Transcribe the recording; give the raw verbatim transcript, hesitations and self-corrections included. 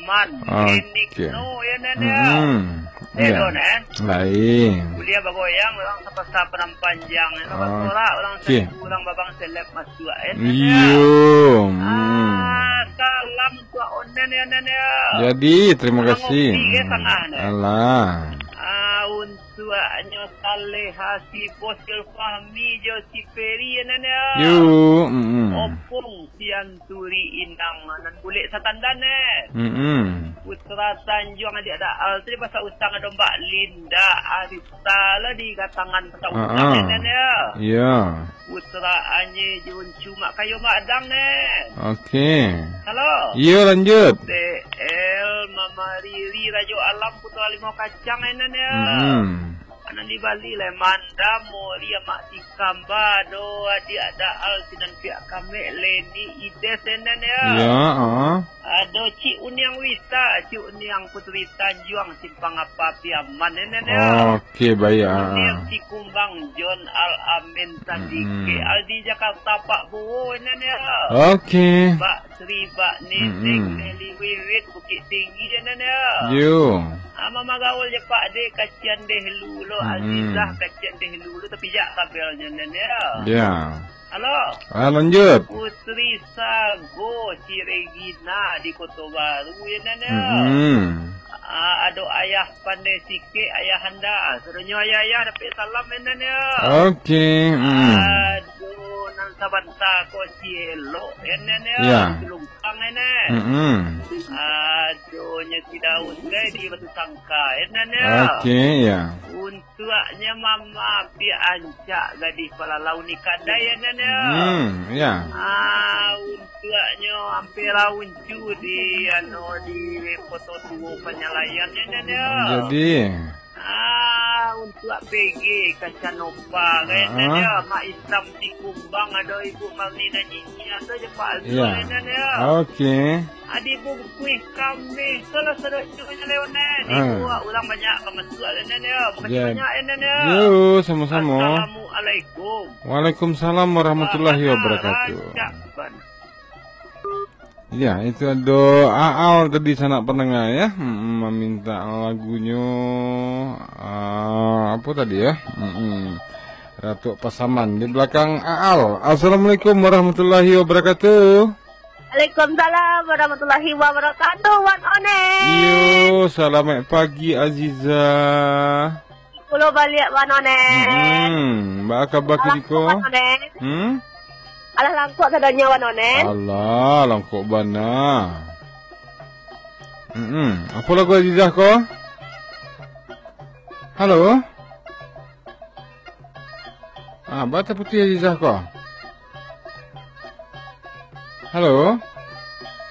Man, Oke. Klinik no, ya, Nan, ya. Hmm. Eh, Ya. Don, eh. Lain. Kuliah bagoyang, orang sapasa padang panjang, ya. Sabar Ah. sorak, orang Oke. saribu, orang babang seleb masuak, ya, Nan, ya. Iyo. Hmm. Ah, salam untuak Onen, ya, Nan, ya. Jadi, terima Orang kasih. ngopi, ya, Hmm. tangah, Nan. Alah. Ah, untuaknyo Saleha, si Bos Jul Fahmi, jo si Peri, ya, Nan, ya. Yo. Hmm. Opung. Sianturi inang nan bulek satandan, eh. Mm-mm. Putra Tanjuang adiak Daal tu dipasa utang ado Mbak Linda Arista lah di gatangan pasa utang, Ah, ah. Nan, ya. Ya. Putra Anye Juncu Mak Kayo Mak Adang, Nan. Oke. Halo. Iya, lanjut. T L Mama Riri Rajo Alam Putra Limau Kacang, Nan, ya. Mm-mm. Anak di Bali, Lemanda, Mori, Amak Tikamba, ado adiak Daal, sinan piak kamek, Leni, Ides, Nan, ya. Ya, ah. Ado Cik Uniang Wita, Cik Uniang Putri Tanjuang, Simpang Apa, Piaman, Nan, ya. Oke, baik, ah. Uniang Cikumbang, John Al Amin, Sandike, Mm-mm. Aldi Jakarta, Pak Bowo, Nan, ya. Oke. Pak Sri, Pak Nising, Mm-mm. Deli Wiwit, Bukit Tinggi, Nan, ya. Yo. Ah, mamagaul je, Pak, deh, kasian deh lu lo, Mm-mm. Azizah, kasian deh lu lo, tapi jak kabelnyo, Nan, ya. Ya. Halo. Ah, lanjut. Putri Sago, si Regina di Koto Baru, ya, Nan, ya. Mm-mm. Ah, ado Ayah Pandai Sikek, Ayah Handa. Sadonyo ayah-ayah dapek salam, ya, Nan, ya. Oke, mm. Ado nan sabanta ko si Elok, ya, Nan, ya. Ya. Di Lumpuang, ya, Nan. Mm-mm. Adonyo si Daud, guys, di Batu Sangka, ya, Nan, ya. Oke, ya. Untuaknyo Mama Api Ancak, gadih palalau ni kadai, ya, Nan, ya. Hmm, ya. Ah, untuaknyo Ampela Uncu di, anu, di Poto Tuo Panyalayan, ya, Nan, ya. Jadi. Ah, untuak P G Kacanova, kan, ya, Nan, Ah. ya. Mak Isam di Kumbang, ado Ibu Marlina Nyinyia, ado je Pak Azrul, Ya. ya, Nan, ya. Oke. Adi bungkuih kami, kalau sadonyo nyo lewat, Nan. Ah. Ibu, urang banyak ka masuak, Nan, ya. Makasih Ya. banyak, Nan, ya. Yo, sama-sama. Assalamualaikum. Waalaikumsalam warahmatullahi Wah, wabarakatuh. rancak, Ban. Ya, itu ado Aal tadi, sanak pandanga, ya. Mm-mm, maminta lagunyo, ah, apo tadi, ya? Mm-mm. Ratuak Pasaman di belakang Aal. Assalamualaikum warahmatullahi wabarakatuh. Waalaikumsalam warahmatullahi wabarakatuh, Wan Onen. Iyo, salamaik pagi, Aziza. Pulo baliak, Wan Onen. Hmm, baa kaba Alah, kiniko? Wan Onen. Hmm? Alah langkok sadonyo, Wan Onen. Alah, langkok bana. Hmm, apo lagu Azizah ko? Halo? Ah, baa taputuih Azizah ko? Halo?